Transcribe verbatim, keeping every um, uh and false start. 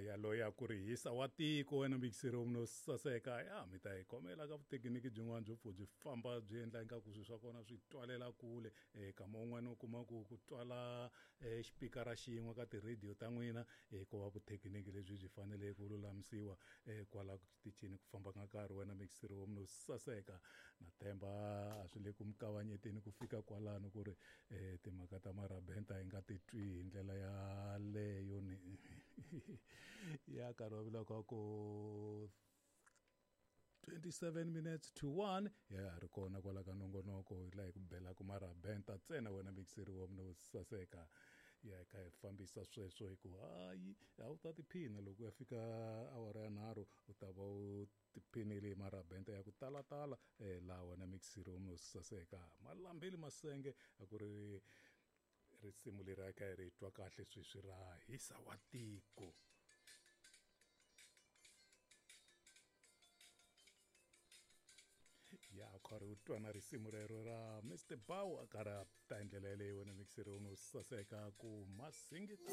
Yaloye a ku ri hisa wa tiko wena mikiseri no saseka ya mi ta hi khomela ka vuthekiniki byin'wana byo pfu byi famba byi endla ingaku swilo swa kona swi twalela kule um kama un'wana u kuma ku ku twala um xipikara xin'we ka tirhediyo ta n'wina um ko va vuthekiniki lebyi byi fanele ku lulamisiwa um kwala xitichini ku famba ka nkarhi wena mikiseri wo no saseka na themba a swi le ku mi kavanyeteni ku fika kwalano ku ri um timhaka ta marabenta hi nga titwi hi ndlela yaleyo ni ya nkarhi wa vula ka ku twenty-seven minutes to one ya ha ri kona kwala ka nongonoko hi laha hi ku belaka marabenta ntsena wena mikiseri wa mina wo saseka ya kha hi fambisa sweswo hi ku hayi a wu ta tiphina loko ya fika awara ya nharhu u ta va u tiphinile hi marabenta ya ku talatala um laha wena mikiseri wa mina wo saseka malambeli masenge a ku ri risimu leri a kha hi ri twa kahle sweswi ra hisa wa tiko. Ya karhi u twa na risimu rero ra Mister Bow a karhi a ta hi ndlela yeleyo wena mikiseri wo saseka ku masingita.